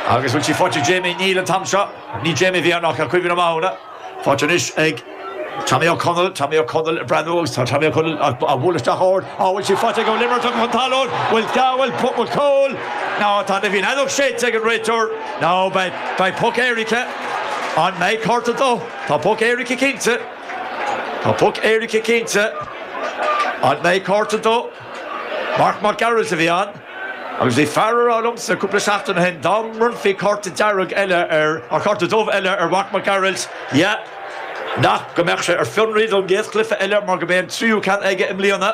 Agus bhfuil sí faighte ag Jamie? Níl an t-am seo. Ní Jamie a bhí ann ach tá cuimhne maith ann. Faighte anois ag Tommy Ó Conaill. Tommy Ó Conaill ag breathnú agus tá Tommy Ó Conaill á bualadh isteach ard. Á bhfuil sí faighte ag Ó Limerick tugtha chun talún. Bhfuil bhfuil bhfuil cúl? Ná tá na bhí an fheadóg séidte ag an réiteoir. Ná beidh beidh poc éirice. An mbeidh cárta dó? Tá poc éirice cinnte. Tá poc éirice cinnte. An mbeidh cárta dó? Marc Mac Gearailt a bhí ann. Agus bhí fear a rá liomsa cúpla seachtain ó shin dá mbronnfaí cárta dearg eile ar, or cárta dubh eile ar Mharc Mac Gearailt, yeah, nach, go mbeadh sé ar fionraí don gcéad chluiche eile mar go b'é an tríú ceann aige i mbliana.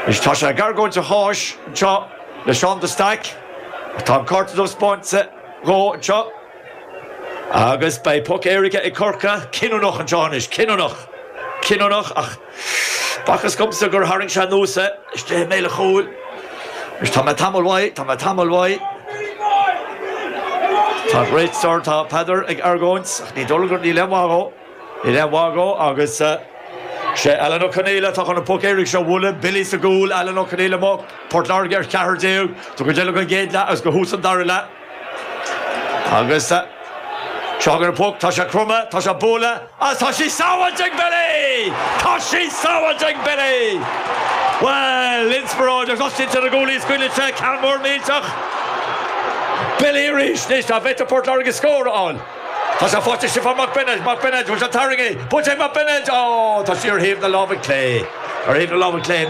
Anois tá sé ag argóint a cháis anseo le Seán de Staic. Tá an cárta dubh spáinte dhó anseo. Agus beidh poc éirice ag Corcaigh, cinniúnach anseo anois, cinniúnach, cinniúnach ach b'fhacthas dhomsa gur tharraing sé anuas é istigh i mbéal an chúil. Anois tá mé tamall uaidh, tá mé tamall uaidh. Tá an réiteoir, tá Peadar ag argóint ach ní dóigh liom gur níl aon mhaith dhó, níl aon mhaith dhó agus sé Alan Ó Conaola atá chun an poc éirice seo a bhualadh, Billy sa gcúl, Alan Ó Conaola amuigh, Port Láirge ar 14, go deireadh an gcéad leath agus go thús an dara leath. Agus seo chugainn an poc, tá sé cromtha, tá sé bualadh agus tá sí sábháilte ag Billy! Tá sí sábháilte ag Billy! Bhuel, inspioráid agus oscailte na gcúlaí scaoilte, ceann mór millteach. Billy arís, anois tá b'fhéidir Port Láirge scór a fháil. Tá sé faighte ag Stiofán Mac Beinéid, Mac Beinéid, bhfuil sé tarraingthe, buailte ag Mac Beinéid, ó, tá sí ar thaobh na láimhe clé, ar thaobh na láimhe clé.